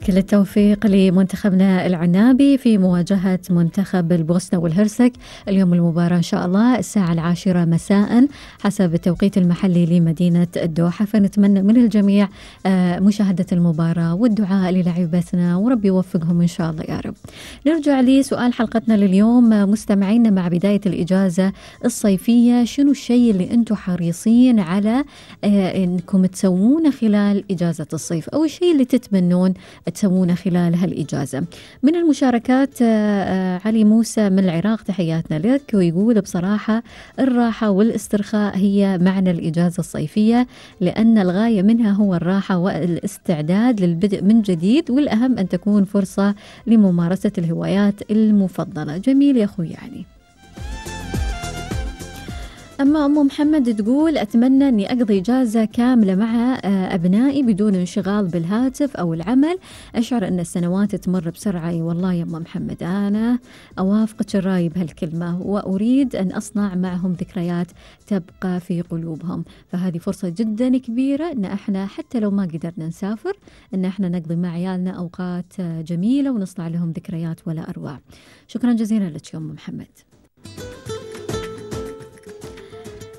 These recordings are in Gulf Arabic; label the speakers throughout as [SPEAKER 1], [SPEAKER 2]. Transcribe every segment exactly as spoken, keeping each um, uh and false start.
[SPEAKER 1] كل التوفيق لمنتخبنا العنابي في مواجهة منتخب البوسنة والهرسك اليوم. المباراة إن شاء الله الساعة العاشرة مساء حسب التوقيت المحلي لمدينة الدوحة، فنتمنى من الجميع مشاهدة المباراة والدعاء للاعبتنا وربي يوفقهم إن شاء الله يا رب. نرجع لسؤال حلقتنا لليوم مستمعينا، مع بداية الإجازة الصيفية شنو الشيء اللي أنتم حريصين على أنكم تسوونه خلال إجازة الصيف، أو الشيء اللي تتمنون تسوونه خلال هالإجازة؟ من المشاركات علي موسى من العراق، تحياتنا لك، ويقول بصراحة الراحة والاسترخاء هي معنى الإجازة الصيفية، لأن الغاية منها هو الراحة والاستعداد للبدء من جديد، والأهم أن تكون فرصة لممارسة الهوايات المفضلة. جميل يا أخوي يعني. أما أم محمد تقول أتمنى أني أقضي إجازة كاملة مع أبنائي بدون انشغال بالهاتف أو العمل، أشعر أن السنوات تمر بسرعة. والله يا أم محمد أنا أوافقك الرأي بهالكلمة، وأريد أن أصنع معهم ذكريات تبقى في قلوبهم، فهذه فرصة جدا كبيرة أن احنا حتى لو ما قدرنا نسافر أن احنا نقضي مع عيالنا أوقات جميلة ونصنع لهم ذكريات ولا أروع. شكرا جزيلا لك يا أم محمد.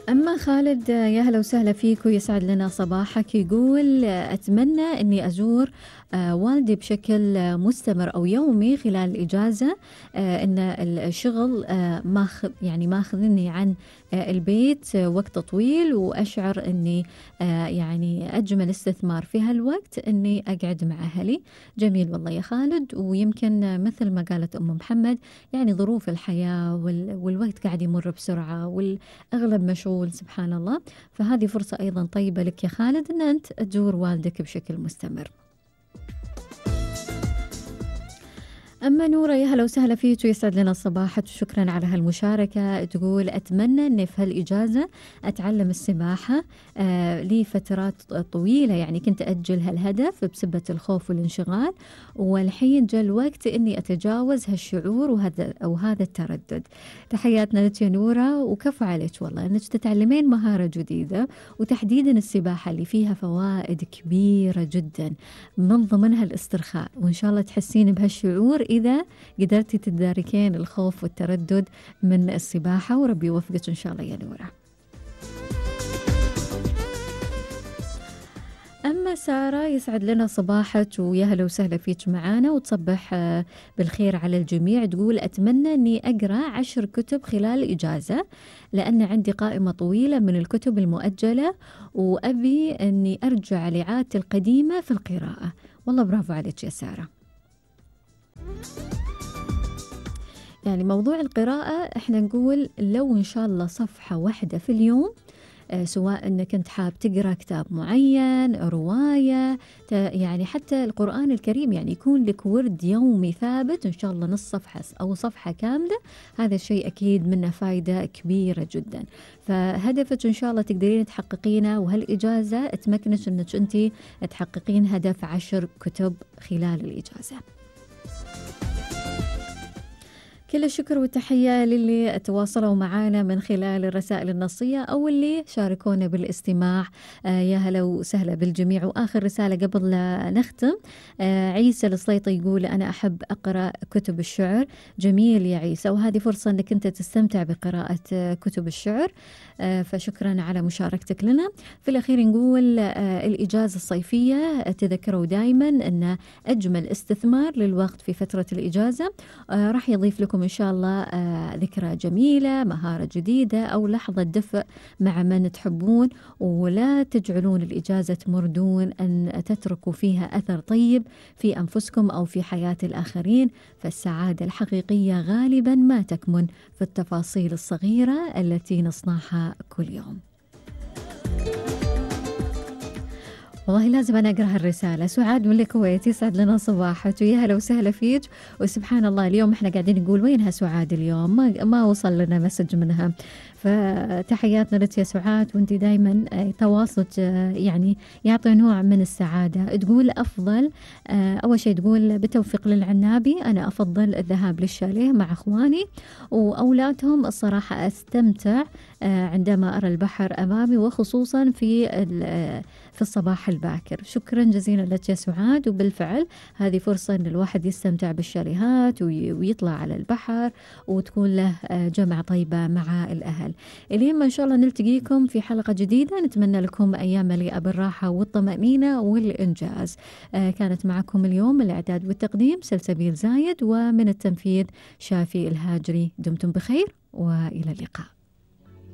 [SPEAKER 1] أما خالد يا هلا وسهلا فيك ويسعد لنا صباحك، يقول أتمنى أني أزور والدي بشكل مستمر أو يومي خلال الإجازة، أن الشغل ما يعني ما أخذني عن البيت وقت طويل، وأشعر أني يعني أجمل استثمار في هالوقت أني أقعد مع أهلي. جميل والله يا خالد، ويمكن مثل ما قالت أم محمد يعني ظروف الحياة والوقت قاعد يمر بسرعة والأغلب مشغول سبحان الله، فهذه فرصة أيضا طيبة لك يا خالد أن أنت تزور والدك بشكل مستمر. أما نورة يا هلا وسهلا فيك ويسعد لنا صباحك وشكرا على هالمشاركة، تقول أتمنى أني في هالإجازة أتعلم السباحة آه لفترات طويلة، يعني كنت أجل هالهدف بسبة الخوف والانشغال، والحين جاء الوقت أني أتجاوز هالشعور وهذا أو هذا التردد. تحياتنا لك يا نورة، وكفو عليك والله أنك تتعلمين مهارة جديدة، وتحديدا السباحة اللي فيها فوائد كبيرة جدا من ضمنها الاسترخاء، وإن شاء الله تحسين بهالشعور إذا قدرتي تداركين الخوف والتردد من السباحة، وربي يوفقك إن شاء الله يا نورة. أما سارة يسعد لنا صباحك ويا هلا وسهلا فيك معانا وتصبح بالخير على الجميع، تقول أتمنى أني أقرأ عشر كتب خلال الإجازة، لأن عندي قائمة طويلة من الكتب المؤجلة وأبي أني أرجع لعادتي القديمة في القراءة. والله برافو عليك يا سارة. يعني موضوع القراءة احنا نقول لو ان شاء الله صفحة واحدة في اليوم، آه سواء انك انت حاب تقرأ كتاب معين، رواية، يعني حتى القرآن الكريم، يعني يكون لك ورد يومي ثابت ان شاء الله نص صفحة او صفحة كاملة، هذا الشيء اكيد منه فايدة كبيرة جدا. فهدفك ان شاء الله تقدرين تحققينه، وهالإجازة تمكنك انك انت تحققين هدف عشر كتب خلال الإجازة. كل الشكر والتحية للي تواصلوا معنا من خلال الرسائل النصية أو اللي شاركونا بالاستماع. آه يا هلا وسهلا بالجميع. وآخر رسالة قبل لا نختم، آه عيسى السليطي يقول أنا أحب أقرأ كتب الشعر. جميل يا عيسى، وهذه فرصة أنك أنت تستمتع بقراءة آه كتب الشعر، آه فشكرا على مشاركتك لنا. في الأخير نقول آه الإجازة الصيفية تذكروا دائما أن أجمل استثمار للوقت في فترة الإجازة آه راح يضيف لكم إن شاء الله آه ذكرى جميلة، مهارة جديدة، أو لحظة دفء مع من تحبون، ولا تجعلون الإجازة تمر دون أن تتركوا فيها أثر طيب في أنفسكم أو في حياة الآخرين، فالسعادة الحقيقية غالبا ما تكمن في التفاصيل الصغيرة التي نصنعها كل يوم. والله لازم أنا أقرأ هالرسالة. سعاد من الكويت يسعد لنا صباحك ويا هلا وسهلا فيك. وسبحان الله اليوم إحنا قاعدين نقول وينها سعاد اليوم، ما ما وصل لنا مسج منها، فتحياتنا لك يا سعاد، وانت دايما تواصلك يعني يعطي نوع من السعادة. تقول أفضل أول شيء، تقول بالتوفيق للعنابي أنا أفضل الذهاب للشاليه مع أخواني وأولادهم. الصراحة أستمتع عندما أرى البحر أمامي، وخصوصا في في الصباح الباكر. شكرا جزيلا لك يا سعاد. وبالفعل هذه فرصة أن الواحد يستمتع بالشاليهات ويطلع على البحر، وتكون له جمعة طيبة مع الأهل. إلين ما إن شاء الله نلتقيكم في حلقة جديدة، نتمنى لكم أيام مليئة بالراحة والطمأنينة والإنجاز. كانت معكم اليوم من الإعداد والتقديم سلسبيل زايد، ومن التنفيذ شافي الهاجري. دمتم بخير وإلى اللقاء.